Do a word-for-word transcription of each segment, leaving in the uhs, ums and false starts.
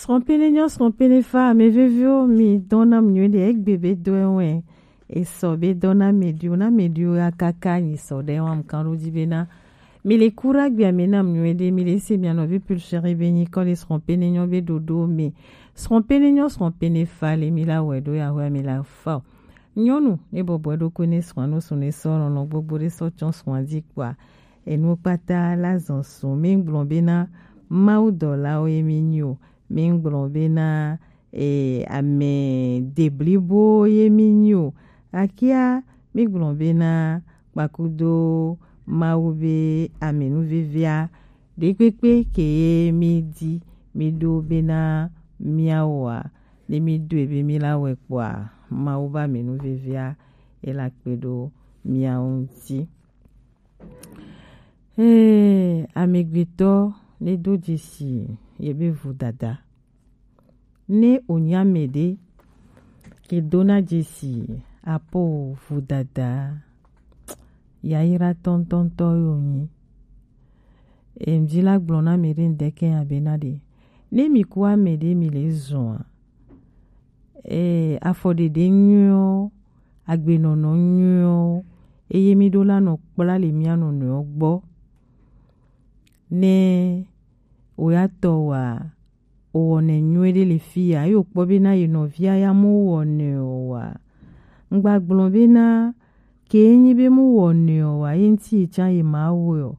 Srɔ̃pene nyɔ, srɔ̃pene fa, ame veviwo, mi dɔna mi nyuie ɖe, egbe be dɔ ewɔe. Esɔ be dɔna mi ɖio, na mi ɖio ya kaka nyi sɔ ɖe wa mkan ɖo dzi bena mi le kura gbia mi na mi nyuie ɖe, mi le se mi anɔ vi pulshere be nyi kɔ le srɔ̃pene nyɔ be ɖoɖo mi. Srɔ̃pene nyɔ, srɔ̃pene fa le mi la wɛ ɖo ya hɔ mi la fa o. Nyɔnu ne bɔbɔ ɖokui ne srɔ̃a no srɔ̃ ne sɔ lɔlɔ gbogbo ɖe sɔ tsɔ srɔ̃a dzi kpɔa, enu kpata la zɔn srɔ̃. Mi gblɔ bena Mawu dɔlawo ye mi nyi o. Mi gblɔ bena e, ame deblibo ye mi nyi o. Akia mi gblɔ bena kpakudo Mawu be amenuvevea ɖekpekpe ke ye mi di mi ɖo bena miawoa, ne mi ɖoe be mi la wɛ kpɔa, Mawu be amenuvevea e la kpe ɖo miawo ŋuti. Ee, amegbetɔ ne do dzesi ye be vodada. Ne wònye ame ɖe ke dona dzesi apo vodada yayra tɔntɔntɔ ye wònyi. Em, dzi la gblɔ na ame ɖe ŋdeke ya bena ɖe, ne mi ku ame ɖe mi le zɔa, ee, afɔɖeɖe nyuiwo, agbenɔnɔ nyuiwo, eye mi ɖo la nɔ kpla le mia nɔnɔewo gbɔ. Ne wò ya tɔ wa, wowɔnɛ nyuie ɖe le fi ya, ye wòkpɔ bena ye nɔvia ya mu wɔnɛ o wa. Ŋgba gblɔ bena ke nyi be mu wɔnɛ o wa, ye ŋuti ye tsã ye ma wɔe o.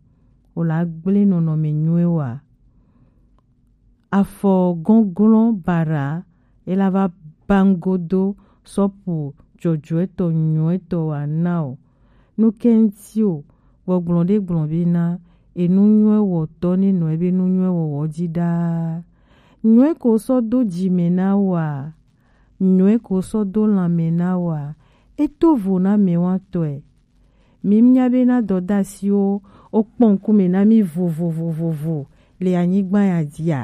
Wòla gblẽ nɔnɔme nyuie wa. Afɔ gɔnglɔn bara, ela va bangodo sɔpu dzɔdzɔetɔ nyuietɔ wa na o. Nu ke ŋuti o, gbɔgblɔ ɖe gblɔ bena, enu nyuie wɔtɔ ne nɔ ebe nu nyuie wɔwɔ dzi ɖaa. Nyuie ko sɔ do dzi me na wa, nyuie ko sɔ do lãme na wa, eto vo na mɛ wa tɔe. Mi nya bena dɔdasiwo wokpɔ ŋkume na mi vovovovovo le anyigba ya dzia?